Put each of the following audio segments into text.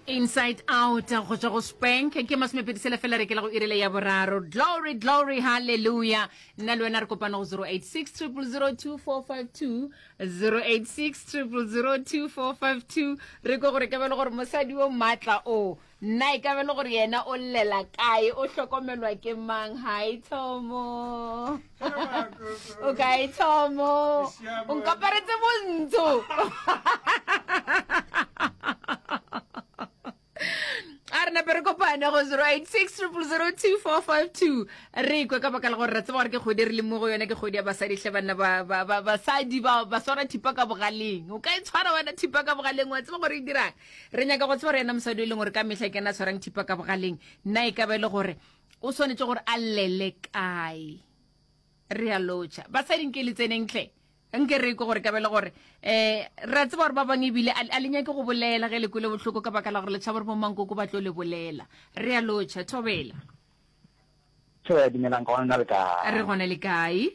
Inside Out go tšwa go Spank ke masomepedi sela fela re ke la go irile ya boraro. Glory, glory, hallelujah. Nna le wena re kopana go 086 0002452 086 0002452 re kwe gore ka be le gore mosadi o maatla o nna e ka be le gore yena o llela kae o hlokomelwa ke mang hi thomo o kae thomo o nkaparetse bontsho a re nape re kopane go 086 0002452 re kwe ka baka la gore re tseba gore ke kgwedi re le mo go yone ke kgwedi ya basadi hle banna basadi ba ba swara thipa ka bogaleng o ka e tshwara wena thipa ka bogaleng wa tseba gore e dirang re nyaka go tseba gore yena mosadi o e leng gore ka mehla ke ena a tshwarang thipa ka bogaleng nna e ka ba e le gore o swanetše gore a llele kae re a lotšha basadi nke le tseneng tle nke re ko gore ka be le gore um re a tseba gore ba bangwe ebile a le nyake go bolela ge le kwele bohloko ka baka la gore le tšhaba gore bomankoko ba tlo le bolela re a lotšha thobela Thobela dumelang ka gona le kae re gona le kae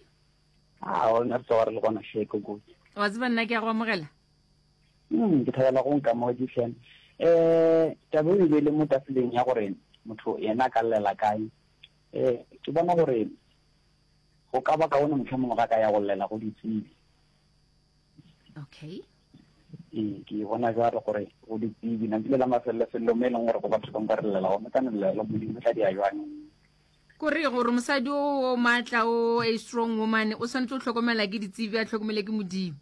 a ona re tsoga re le gona hle koko wa tseba nna ke ya go amogela Mm, ke thabela go nka mo hle. Eh, taba e be le mo tafoleng ya gore motho yena a ka llela kae. Eh, ke bona gore go ka ba kaone mohlomongwe ga ka ya go llela go ditsebi. Okay. Ee, ke bona jalo gore go ditsebi nako le la mafelelo-felelo mo e leng gore go batho bangwe ba re llela gone ka no llela modimo tla dia jwang. Kore gore mosadi o o maatla o a strong woman o swanetše go hlokomela ke ditsebi a hlokomele ke modimo.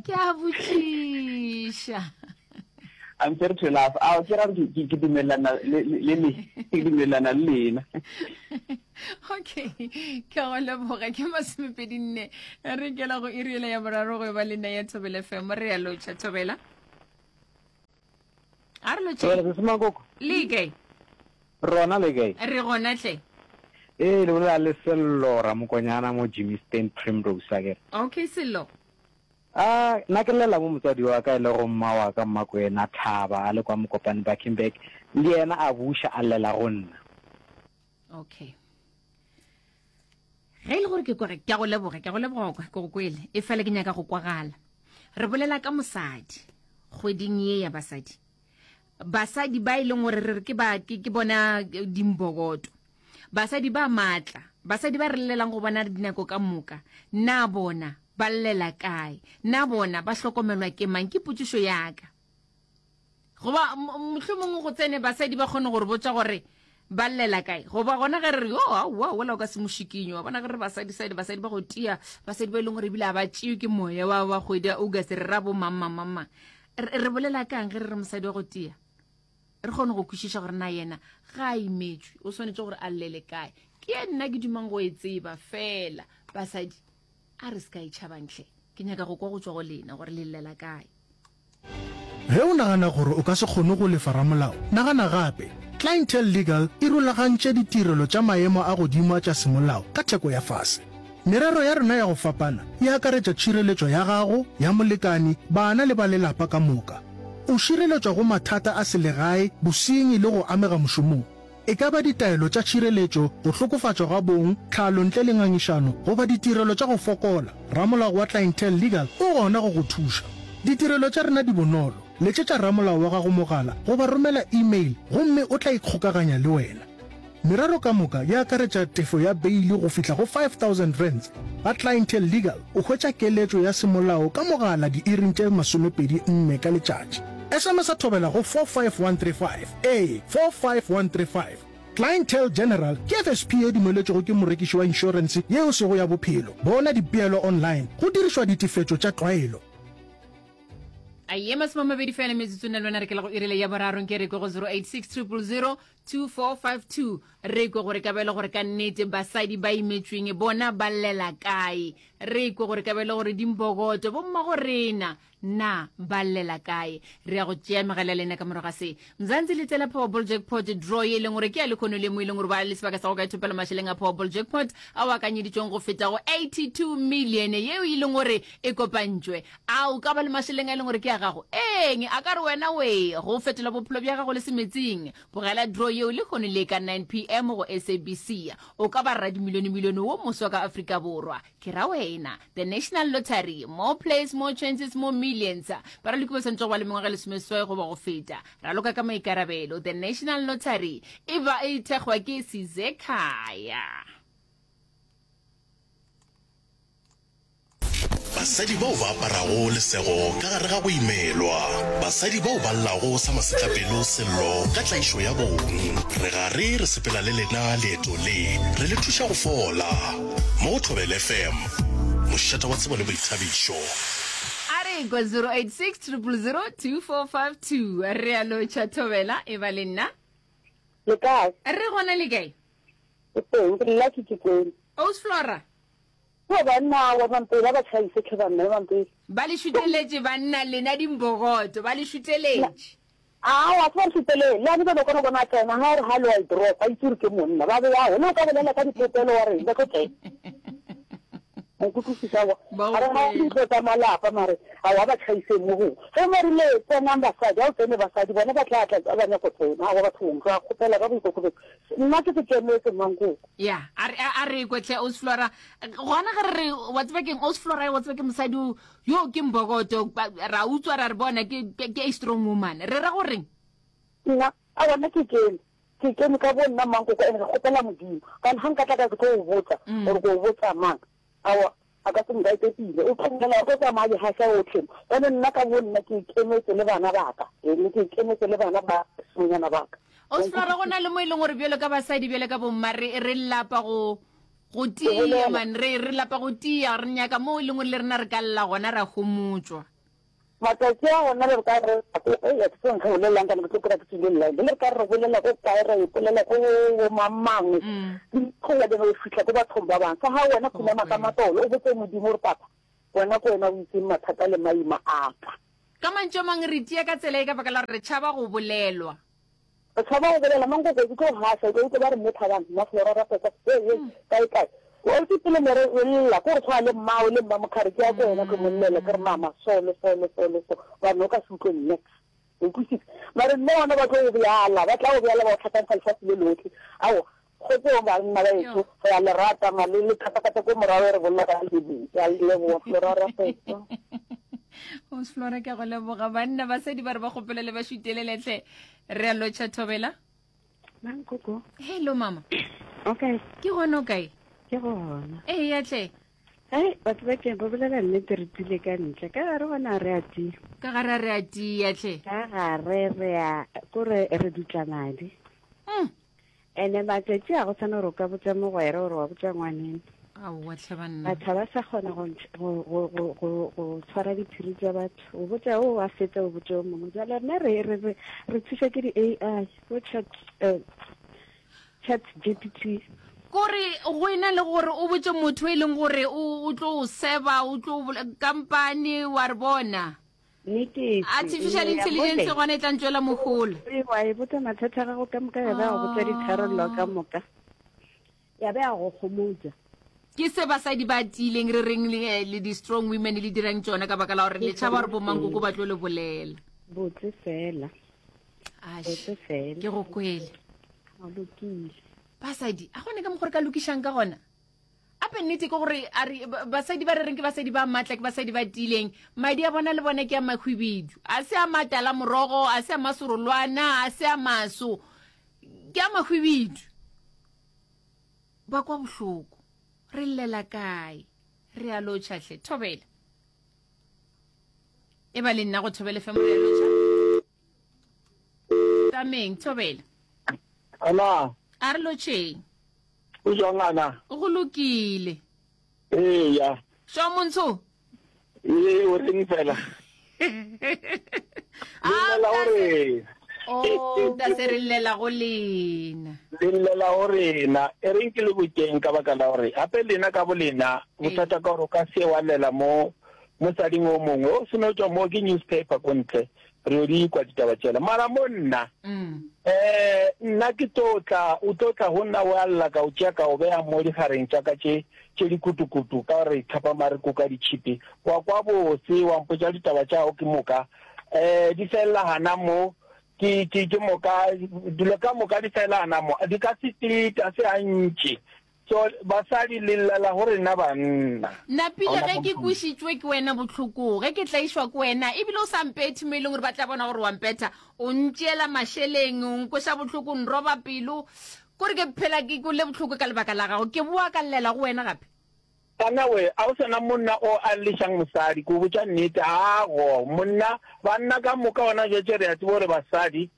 Ke a botšiša. I'm sorry to laugh. A ke ra ke ke dumelana le le le ke dumelana le lena. Okay. Ke go leboga ke masomepedi nne. Re kela go iri ya boraro go ba le nna ya Thobela FM. Re ya lotšha Thobela. A re lotšhe. Thobela se Makoko. Le kae? Rona le kae? Re gona hle. Ee, le bolela le Sello Ramokonyana mo Germiston Primrose akere. Okay Sello. A nna ke llela mo motswadi wa ka e lego mma wa ka Mmakwena Thaba a le kwa Mokopane Bakenberg le yena a buša a llela go nna. Okay. Ge e le gore ke kwa ke a go leboga ke a go leboga kwa ke go kwele e fela ke nyaka go kwagala. Re bolela ka mosadi kgweding ye ya basadi. Basadi ba e leng gore re re ke ba ke, ke bona dimbokoto. Basadi ba matla, basadi ba re llelang go bona dinako ka moka, na bona ba llela kae? Na bona ba hlokomelwa ke mang? Ke potšišo ya ka. Goba mohlomongwe go tsene basadi ba kgone go re botša gore ba llela kae. Goba gona ge re re, yo, aowa, wola o ka se mo šikinye. Wa bona ge re re basadi, sadi, basadi ba go tia, basadi ba e leng gore ebile ga ba tšewe ke moya wa, wa kgwedi ya August, re ra bo mang, mang, mang, mang. Re, re bolela kang ge re re mosadi wa go tia? Re kgone go kwešiša gore na yena ga a imetšwe, o swanetše gore a llele kae. Ke ye nna ke dumang go e tseba fela. Basadi, a re se ka e tšhabang hle. Ke nyaka go kwa go tšwa go lena gore le llela kae. Ge o nagana gore o ka se kgone go lefa ramolao, nagana gape. Clientele Legal e rulagantše ditirelo tša maemo a godimo a tša semolao ka theko ya fase. Merero ya rena ya go fapana e akaretša tšhireletšo ya gago, ya molekane, bana le ba lelapa ka moka. O šireletšwa go mathata a selegae, bosenyi le go amega mošomong. E ka ba ditaelo tša tšhireletšo, go hlokofatšwa ga bong, tlhalo ntle le ngangišano goba ditirelo tša go fokola, ramolao wa Clientele Legal o gona go go thuša. Ditirelo tša rena di bonolo, letšetša ramolao wa gago mogala goba romela e-mail gomme o tla ikgokaganya le wena. Merero ka moka e akaretša tefo ya beili go fihla go R5000. Ga Clientele Legal o hwetša keletšo ya semolao ka mogala diiring tše 24 ka letšatši. SMS-a thobela go 45135. Ee, 45135. Clientele General ke FSP ye dumeletšwego ke morekiši wa inšorense ye e sego ya bophelo. Bona dipeelo online go dirišwa ditefetšo tša tlwaelo. A ye masomamabedi fela metsotso nna le wena re ke la go irile ya boraro nke re kwe go 086 000 2452 re kwe gore ka bele gore ka nnete basadi ba imetšweng bona ba llela kae re kwe gore ka bele gore dimbokoto bommago rena na ba llela kae re ya go tšea megala ya lena ka morago ga se mzansi le tsela powerball jackpot draw ye e leng gore ke ya lekhono le mo e leng gore ba le sebaka sa go ka ithopela mašeleng a powerball jackpot ao akanyeditšweng go feta go 82 million yeo e leng gore e kopantšwe A o ka ba le mašeleng a e leng gore ke a gago? Eng, a ka re wena we, go fetola bophelo bja gago le semetsing. Bogela draw yeo. yeo lehono le ka 9 pm go SABC. O ka ba radimilionemilione wo moswa ka Afrika Borwa. Ke ra wena. The National Lottery. More plays, more chances, more millions. Baraloki ba swanetše go ba le mengwaga e lesomeseswai goba go feta. Raloka ka maikarabelo. The National Lottery e ba e thekgwa ke Sizekhaya. Basadi bao ba aparago lesego ka gare ga go imelwa. Basadi bao ba llago sa masetlapelo sello ka tlaišo ya bong. Re gare re sepela le lena leeto le, re le thuša go fola. Mo go Thobela FM, mošate wa tsebo le boithabišo. A re kwa 086 000 2452. Re a lotšha Thobela, e ba le nna. Le kae? Re gona le kae? Ke teng, ke Lucky ke kwele. Aus Flora. Kua banna wa Mampela ba tšhaise tlhe banna ba Mampela. Ba le šuteletše banna lena dimbogoto ba le šuteletše. Aowa se ba re šutelele le ane ba no kona bona a tsena ga o re hallo wa e drop ba itse gore ke monna ba be ao le o ka bolela ka dipopelo wa reng ba tlo tsena. O nkutlwisisa aowa Ba ga re ga kwele. dintlo tsa malapa mare aowa ba tšhaiseng mo gongwe ge ba rile tsenang basadi ga o tsene basadi bona ba tla tla ba nyako tsena aowa bathong re a kgopela ka boikokobetso nna ke se kemetse mankoko. Ya, a re, a re kwe hle, Ausi Flora. Gona ge re re, wa tseba keng, Ausi Flora, wa tseba ke mosadi o, yo ke mbokoto, ra utswa ra re bona, ke, ke, ke a strong woman. Re ra goreng? Nna, aowa, nna ke kene. Ke kene ka bo nna mankoko, and re kgopela Modimo. Gobane ga nka tla ka ke tlo o botsa, gore ke o botsa mang, aowa, a ka se nkaete pila. O tlo bolela, o tlo tsamaya a di gaša otlhe mo. Gobane nna ka bo nna ke ikemetse le bana ba ka. Ee, ke ikemetse le bana ba basimanyana ba ka. Osflora, go na le mo e leng gore bjalo ka basadi, bjalo ka bomma, re, re lapa go, go tia, man, re, re lapa go tia, re nyaka mo e leng gore le rena re ka lla gona ra homotšwa. Matšatši a gona le re ka re, ei, a ke tsebe nka bolelelang kana ke tlo kry-a ke tswile line. Le re ka re bolela ko kae, ra ipolela ko bo mang mang, di tlo ya go fihla ko bathong ba bang. Sa ga wena khunama ka matolo, o botse Modimo gore papa, wena ke wena o itseng mathata le maima a ka. Ka mantšu a mangwe, re tia ka tsela ye ka baka la gore re tšhaba go bolelwa. Re tšhaba go bolela, Mankoko, ke tlo gaša, o tlo utlwa ba re mme Thabang, mma Flora Raposa, hei, hei, kae, kae. O itse pele ne re re lla, ke gore tshwana le mmao le mma Mokhari, ke ya ko wena ke mo llela, ke re mama, so le so le so le so, gobane o ka se utlwe niks. O kwisisa? Mare nne gona ba tlo go bjala, ba tla go bjala ba go hlakantsha lefase le lohle. Aowa, kgotsong banna ba ešo, re a le rata, ma le le katakata ko morago re bolela ka le Ke a le leboga, Flora Raposa. O Flora, ke a go leboga. Banna, basadi ba re ba kgopela le ba šutelele hle. Re a lotšha Thobela. Mankoko. Hello mama. Okay. Ke gona o kae? Ke gona. Ee ya tle. Ai batho ba ke ba bolela nnete re tile ka ntle. Ka gare gona re a tia. Ka gare re a tia tle. Ka gare re a kore re dutla madi. Mm. Ene matšatši a go tshwana gore o ka botša mogwera gore wa botša ngwaneno. Aowa tlhe banna. Batho ga ba sa kgona go go go go go go tshwara diphiri tša batho. O botša o wa fetsa o botša o mongwe. Jwale rena re re re re thuša ke di-A_I bo chat eh, chat G_P_T. Kore go ena le gore o botše motho e leng gore o o tlo o seba o tlo kampane wa re bona. Nnete efe? Artificial intelligence gona e tla ntšwela mohola. Ee, wa e botsa mathata a gago ka moka ya ba ya go botsa ditharollo ka moka. Ya ba ya go gomotsa. Ke se basadi ba tiileng re reng le, eh, le di-strong women le dirang tšona ka baka la gore le tšhaba gore bomankoko ba tlo le bolela. Botse fela. Ash, Botse fela. ke go kwele. O lokile. Basadi, a gone ka mokgwa re ka lokišang ka gona? Ape nnete ke gore a re basadi ba re reng ke basadi ba matla, ke basadi ba tiileng, madi a bona le bona ke a mahwibidu, a se a matala morogo, a se a masorolwana, a se a maso, ke a mahwibidu. Ba kwa bohloko. Re llela kae? Re a lotšha hle. Thobela. E ba le nna go Thobela FM re a lotšha. Tameng, Thobela. Ana. A re lotšheng. O jwang ana? Go lokile. Eya. Sho montsho. Ee, o reng fela? Ah, Llela go rena. Oh, ta se re llela go lena. Le llela go rena. E reng ke le boteng ka baka la gore gape lena ka bolena bothata ka gore o ka se wa llela mo mosading o mongwe o seno tšwa mo ke newspaper ko ntle Re yo di kwa ditaba tšela. Mara mo nna, eh, nna ke tlo tla, o tlo tla go nna wa lla ka o tšea ka o beya mo digareng tša ka tše, tše dikutukutu, ka re thapama re kuka ditšhipi. Wa kwa bose, wa mpotša ditaba tša gago ke moka. Eh, di felela gana mo. Ke, ke, ke moka, dilo ka moka di felana mo, di ka se teta se gantši. So, basadi le llela go rena banna. Napile ge ke kwešitšwe ke wena bohloko, ge ke tlaišwa ke wena, ebile o sa mpethe mo e leng gore ba tla bona gore wa mpetha, o ntšeela mašeleng, o nkweša bohloko, o nroba pelo, kore ke phela ke kwele bohloko ka lebaka la gago, ke boa ka llela go wena gape. Banna we, a o sa na monna o a llišang mosadi, ke o botša nnete, aago, monna, banna ka moka gona bjatše re a tseba gore basadi,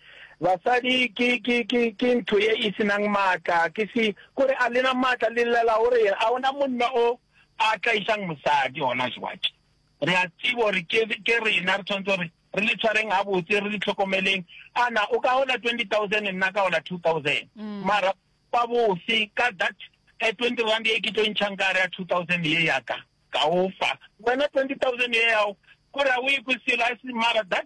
basadi ke, ke, ke, ke ntho ye e se nang maatla, ke se, kore a lena maatla, le llela gore eng, a o na monna o a tlaišang mosadi gona jwatše, re a tseba gore ke, ke rena re tshwanetse gore re le tshwareng gabotse, re le hlokomeleng, ana o ka gola 20,000 nna ka gola 2,000, mara Kwa bose ka that 20 rand ye ke tlo e ntšhang ka gare ya 2000 ye ya ka, ka o fa. Wena 20,000 ye yago, kore ga o e kwe selo, a se mara that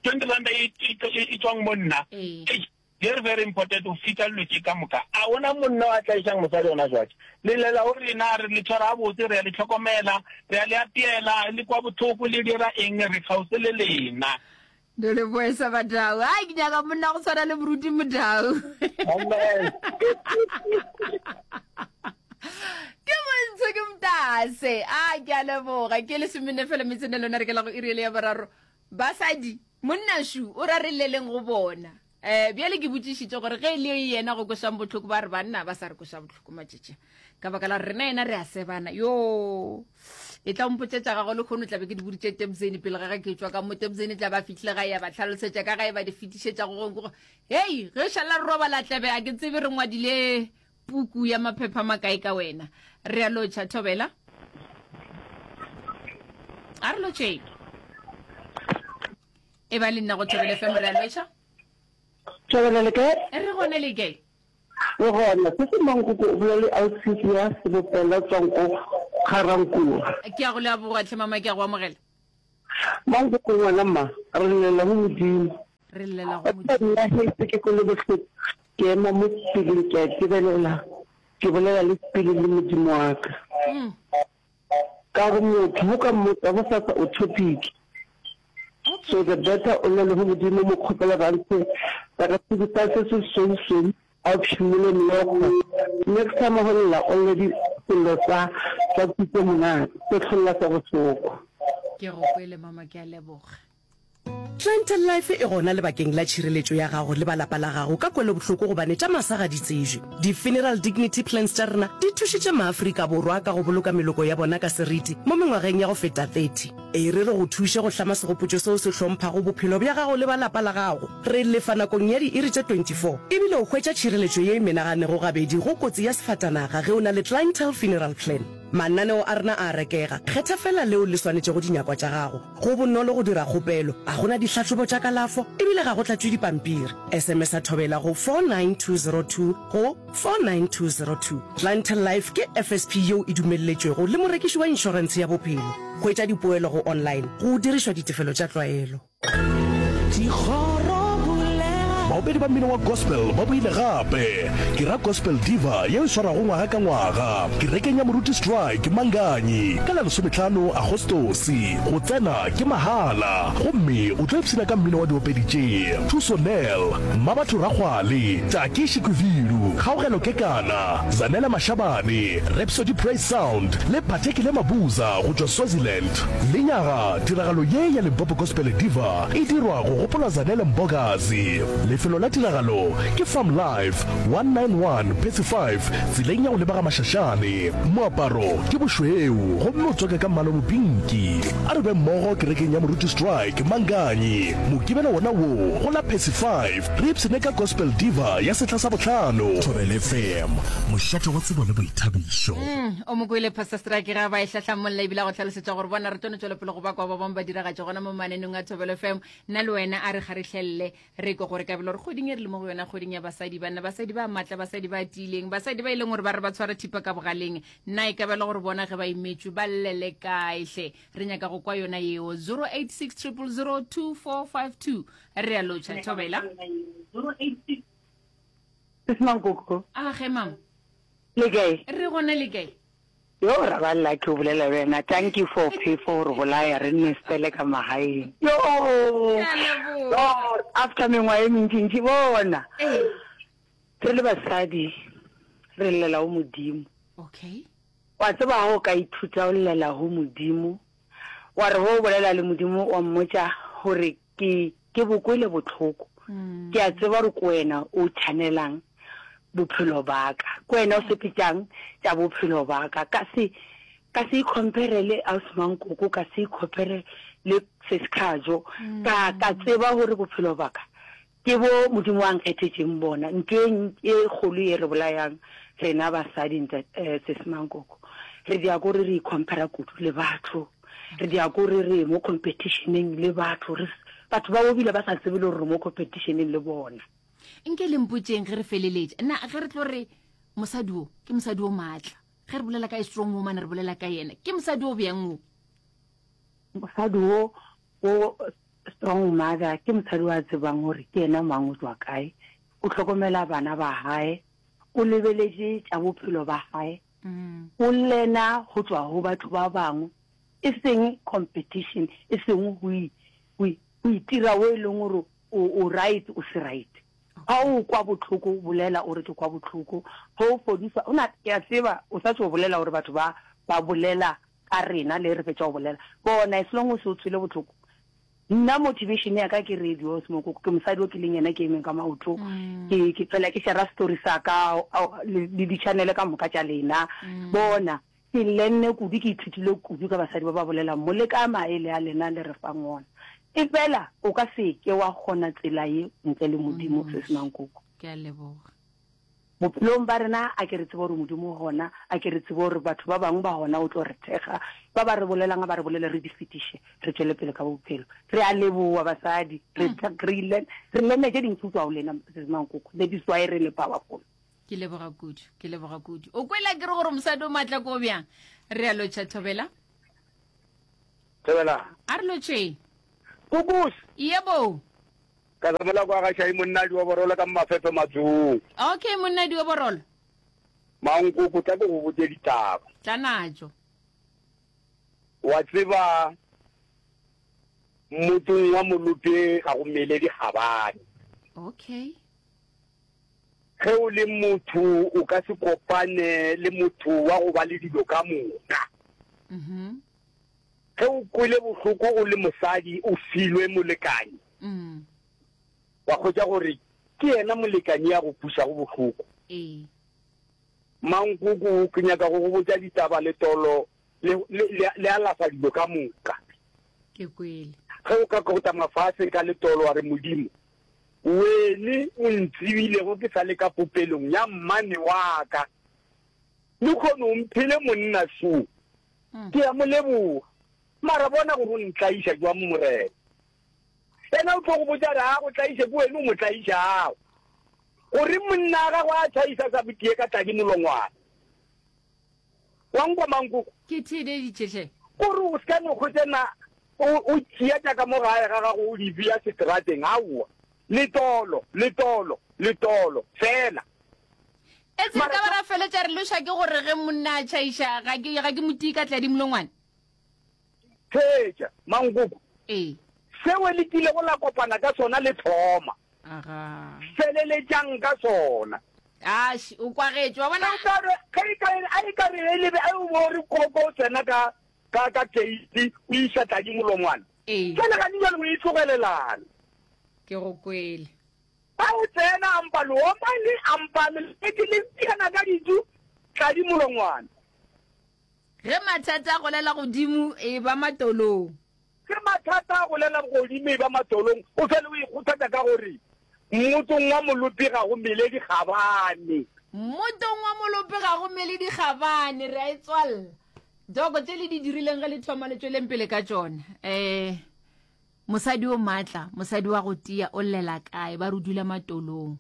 20 rand ye e tšwang mo nna, eish, very very important go feta dilo tše ka moka. A gona monna o a tlaišang mosadi gona jwatše. Le llela go rena, re le tshwara gabotse, re a le hlokomela, re a le apeela, le kwa bohloko, le dira eng, re kgauswi le lena. Ndo leboesa Badau. Ai ke nyaka monna go tshwana le Moruti Modau. Amen. Ke montsho ke motase. A ke a leboga. Ke lesomenne fela metsene lona re ke la go iri ele ya boraro. Basadi, monna shu o ra re lleleng go bona. Eh bjale ke botšišitše gore ge e le yena go kwešang bohloko ba re banna ba sa re kweša bohloko matšatši ka baka la rena yena re a sebana yo e tla mpotša tša gago le kgono tlabe ke di boditše Tebzeni pele ga ge ke tšwa ka mo Tebzeni tla ba fihlile ga ya ba tlhalosetša ka ga e ba di fetišetša go gongwe hei ge šala re robala tlebe a ke tsebe re ngwadile puku ya maphepha makae ka wena re a lotšha thobela a re lotšheng e ba le nna go thobela fm re a lotšha Thobela le kae? Re gona le kae? Re gona. Se se Mankoko o bolela le Ausi ya Sebopela tswang ko Ga-Rankuwa. Ke a go leboga tlhe mama ke a go amogela. Mankoko ngwana mma, re llela go Modimo. Re llela go Modimo. Nna he se ke kwele bohloko, ke ema mo sepileng ke a itebelela, ke bolela le sepele le Modimo wa ka. Ka gore motho go ka mmotsa gosasa o topic. So the better o llele go Modimo mo kgopela ba ntshe sakatshipi sa se se sweu-sweu a o phimole meokgo. Next time go lla o lle di sello sa sa kutlo monate se hlolla sa bohloko. Ke go kwele mama ke a leboga. Clientele Life e gona lebakeng la tšhireletšo ya gago le ba lapa la gago ka kwelobohloko gobane tša masa ga di tsejwe. Di-Funeral Dignity Plans tša rena di thušitše maAfrika Borwa ka go boloka meloko ya bona ka seriti mo mengwageng ya go feta 30. E re re go thuše go hlama segopotšo seo se hlomphago bophelo bja gago le ba lapa la gago. Re lefa nakong ya diiri tše 24 ebile o hwetša tšhireletšo ye e menaganego gabedi go kotsi ya sefatanaga ge o na le Clientele Funeral Plan. Mananeo a rena a a rekega, kgetha feela leo le swanetšego dinyakwa tša gago. Go bonolo go dira kgopelo, ga go na dihlahlobo tša kalafo e bile ga go tlatšwe dipampiri. SMS-a Thobela go 49202 go 49202. Clientele Life ke FSP yeo e dumelletšwego le morekiši wa inšorentshe ya bophelo. Hwetša dipoelo go online go dirišwa ditefelo tša tlwaelo. Baopedi ba mmino wa gospel ba boile gape. Ke ra Gospel Diva yeo e swarwago ngwaga ka ngwaga kerekeng ya Moruti Strike Manganyi ka la lesometlhano Agostose. Go tsena ke mahala gomme o tlo ipshina ka mmino wa diopedi tše, Thuso Nel, Mmabatho Rakgwale, Taki Shikwivilu, Kgaogelo Kekana, Zanele Mashabane, Rhapsody Praise Sound le Phathekile Mabuza go tšwa Swaziland. Lenyaga, tiragalo ye ya Limpopo Gospel Diva e dirwa go gopola Zanele Mbokazi. Lefelo la tiragalo ke Farm Life, 191 Percy 5, tseleng ya go leba ga Mashashane. Moaparo ke bošweu gomme o tswaka ka mmala o mopinki. A re be mmogo kerekeng ya Moruti Strike, Manganyi, Mokibelo wona wo go la Percy 5, re ipshine ka Gospel Diva ya sehla sa bohlano. Thobela FM, mošate wa tsebo le boithabišo. O mo kwele Pastor Strike ge a ba e hlahlamolla ebile a go hlalosetša gore bona re tlo no tšwela pele go ba kwa ba bangwe ba diragatše gona mo mananeng a Thobelo FM. Nna le wena a re kgarihlelele re kwe gore kabelo re kgweding e re le mo go yona kgweding ya basadi banna basadi ba matla basadi ba tiileng basadi ba e leng gore ba re ba tshwara thipa ka bogaleng nna e kabelo gore bona ge ba imetšwe ba llele kae hle re nyaka go kwa yona yeo 086 000 2452 re a lotšha Thobela. Sis Mankoko. A ge mam. Le kae? Re gona le kae? Yo ra ba lucky o bolela le wena. Thank you for phefo gore bolaya re nne spele ka magaeng. Yo. Ke a leboga. After mengwaga e mentšintši, bona. Ee. Re le basadi, re llela go Modimo. Okay. Wa tseba ga o ka ithuta go llela go Modimo, wa re ge o bolela le Modimo wa mmotša gore ke, ke bo kwele bohloko. Ke a tseba gore ke wena o channelang bophelo ba ka. Ke wena o sepetšang tša bophelo ba ka. Ka se, ka se ikhomphere le Ausi Mankoko, ka se ikhomphere le Sesi Khajo. Ka, ka tseba gore bophelo ba ka Ke bo Modimo a nkgethetšeng bona. Ntho e, e kgolo ye re bolayang rena basadi, nta, eh, Sesi Mankoko, re dia kore re icomphera kudu le batho. Re dia kore re mo competitioneng le batho. Re, batho ba bo bile ba sa tsebe le gore re mo competitioneng le bona. Nke le mpotšeng ge re feleletša, na ge re tlo re mosadi wo ke mosadi o maatla, ge re bolela ka a strong woman re bolela ka yena, ke mosadi o bjang wo? Mosadi wo, wo Strong mother ke mosadi wa tsebang gore ke yena mang o tšwa kae, o hlokomela bana ba gae, o lebeletše tša bophelo ba gae, o lena go tšwa go batho ba bangwe, e seng competition, e seng go go itira o e leng gore o right o se right. Ga o kwa bohloko bolela o re ke kwa bohloko, ge o fodiswa, o na ke a tseba o sa tšo bolela gore batho ba ba bolela ka rena le re fetša go bolela. Bona, as long o se o tswele bohloko. Nna motivation ya ka ke radio Smokoko, ke mosadi o ke leng yena ke emeng ka maoto. Ke ke fela ke share story sa ka le di channel ka moka tša lena. Bona, ke lenne kudu ke ithutile kudu ka basadi ba ba bolelang mo le ka maele a lena le re fang ona. E fela o ka se ke wa kgona tsela ye ntle le Modimo Sesi Mankoko. Ke a leboga. Bophelong ba rena, a ke re tsebe gore Modimo o gona, a ke re tsebe gore batho ba bangwe ba gona o tlo re thekga. Ba ba re bolelang a ba re bolele re di fetiše, re tšwele pele ka bophelo. Re a leboa basadi, re re re lenne tše dintši go tšwa go lena Sesi Mankoko. That is why re le powerful. Ke leboga kudu, ke leboga kudu. O kwela ke re gore mosadi o maatla ko bjang? Re a lotšha Thobela. Thobela. A re lotšheng. Kukus. Yebo. Ka zamola kwa ga Shai monna Dioborolo ka Mafefe Matsong. Okay monna Dioborolo. Mankoko tla ke go botše ditaba. Tla natšo. Wa tseba mmotsong wa Molope ga go mele dikgabane. Okay. Ge o le motho o ka se kopane le motho wa go ba le dilo ka moka. Mhm. Ge o kwele bohloko o le mosadi o filwe molekani, wa hwetša gore ke yena molekani ya go kwišago bohloko. Ee. Mankoko, ke nyaka go go botša ditaba, letolo le, le, le, le alafa dilo ka moka. Ke kwele. Ge o ka kotama fase ka letolo wa re, Modimo, wene o ntsebilego ke sa le ka popelong ya mmane wa ka, lehono o mphile monna šo. Ke a mo leboga. Mara bona gore o ntlaiša jwang, Morena. Yena o tlo go botša a re, A go tlaiše ke wena o mo tlaišago. Goreng monna a gago a tšhaisa sa botie ka tladi molongwana? Wa nkwa, Mankoko? Ke theededitše hle. Gore o se ka no hwetša na o, o tšea tša ka mo gae ga gago o di bea seterateng. Aowa. Letolo, letolo, letolo, feela. Etse re ka ba ra feletša re loša ke gore ge monna a tšhaiša ga ke ga ke mo tii ka tladi molongwane. Theetša, Mankoko. Ee. Seo le kilego la kopana ka sona le thoma. Aga. Feleletšang ka sona. Ash, o kwagetše, wa bona. Ge e ka re, ge e ka re, a e ka re e lebe, a o bo re koko o tsena ka, ka, ka keiti, o iša tladi molongwane. Ee. Jwale gane jwale o e tlogelelana. Ke go kwele. Ba o tsena a mpa leomane, a mpa leleke le tiana ka ditu, tladi molongwana. Ge mathata a golela godimo e ba matolong. Ge mathata a golela godimo e ba matolong, o fele o ikgothatša ka gore, Mmotong wa molopi ga go mele dikgabane. Mmotong wa molopi ga go mele dikgabane, re a e tswalla. Doko tše le di dirileng ge le thoma le tšweleng pele ka tšona. Um Mosadi o maatla, mosadi wa go tia, o llela kae? Ba re o dula matolong.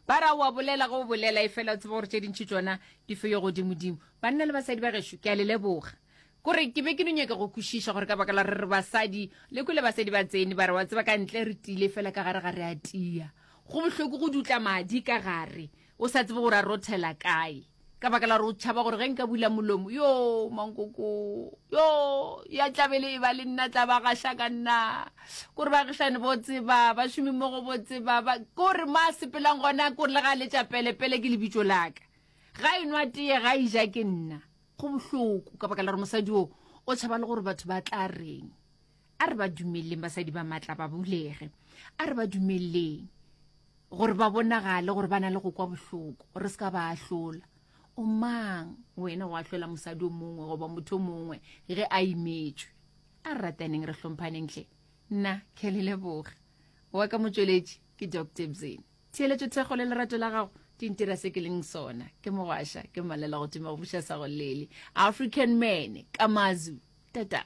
Ba re o a bolela ge o bolela, efela o tseba gore tše dintši tšona di feyo godimodimo. Banna le basadi ba gešo, ke a le leboga. Kore ke be ke no nyaka go kwešiša gore ka baka la re re basadi, le kwele basadi ba tsene ba re wa tseba ka ntle re tiile fela ka gare ga re a tia. Go bohloko go dutla madi ka gare o sa tsebe gore a rothela kae. Ka baka la gore o tšhaba gore ge nka bula molomo, yo mankoko, yo ya tlabele e ba le nna tla ba gaša ka nna. Kore baagišane bo tseba, bašomi mmogo bo tseba, ba kore mo a sepelang gona kore le ga letša pele pele ke lebitso la ka. Ga e nwa teye ga e ja ke nna. Go bohloko ka baka la gore mosadi o o tšhaba le gore batho ba tla reng. A re ba dumeleleng basadi ba matla ba bulege. A re ba dumeleleng. Gore ba bonagale gore ba na le go kwa bohloko, re se ka ba ahlola. O mang wena go ahlola mosadi o mongwe goba motho o mongwe ge a imetšwe? A re rataneng re hlomphaneng hle. Nna ke a le leboga. Wa ka motšweletši ke Doc Tebzeni. Theeletšo, thekgo le lerato la gago di ntira se ke leng sona. Ke mogwaša, ke mmalela go tuma go buša sa go lele. African man, Kamazu. Tata.